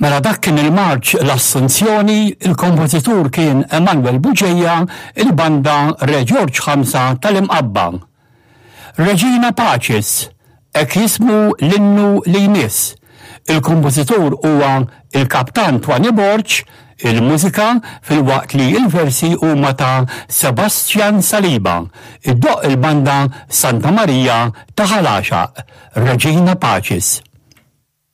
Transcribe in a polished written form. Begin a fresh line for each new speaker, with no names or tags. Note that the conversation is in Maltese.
Mela dak kien il-marċ L-Assunzjoni, il-kompożitur kien Emanuel Bugeja, il-banda Re Ġorġ Ħamsa tal-Imqabba. Regina Pacis, hekk jismu l-innu li jmiss. Il-kompożitur huwa il-Kaptan Twani Borg, il-mużika filwaqt li l-versi huma ta' Sebastian Saliba. Iddoqq il-banda Santa Marija ta' Ħal Għaxaq. Regina Pacis.